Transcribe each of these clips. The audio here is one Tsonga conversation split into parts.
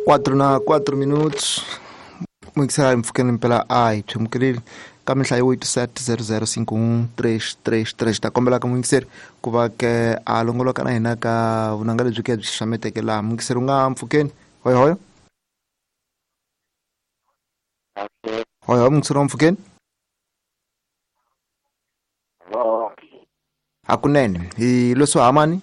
4 na 4 minutos muyingisela mpfhukeni mpela a hi pyemukeleli ka minhlayo 87 0051333 ta kombela ka muyingiseri ku va ke a longoloka na hina ka vunanga lebyi ke byi xaxameteke laha. Muyingiseri u nga mpfhukeni? Hoyohoyo, hoyohoyo, muyingiseri wa mpfhukeni? Hakunene hi leswo hamani.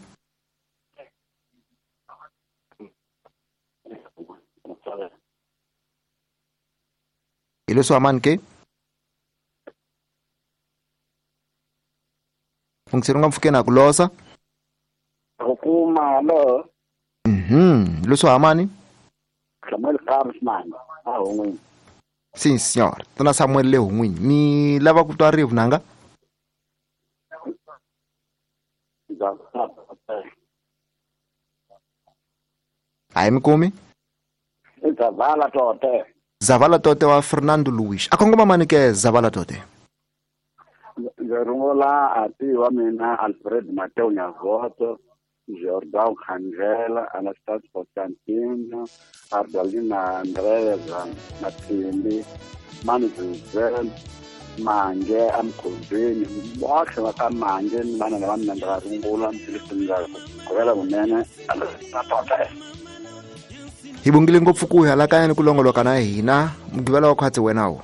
Hi leswo hamani ke? Muyingiseri u nga mpfhukeni a ku losa? Ku kuma hallo. Leswo hamani? Samuel Kamsman a Hungwini. Sim senhor. Tona Samuel le Hungwini, mi lava ku twa rivu nanga? Hayi, mi kumi. I Zavala Tote. Zavala Tote wa Fernando Luis. A kongoma mani ke Zavala Tote? Ndzi rungula ati wa mina Alfred Mateo Nyavoto, Jordan Khandlela, Anastas Constantino, Ardalina Andrea Mathimbi, Mani Zizel, Mange amkhonzweni, botlhe va ka Mange ni vana lava mina ndzi va rungula ndzi ndza govela vunene na Tote. Hi bongile ngopfu ku halakanya ni ku longoloka na hina. Mugqivela wa khwatsi wena wo.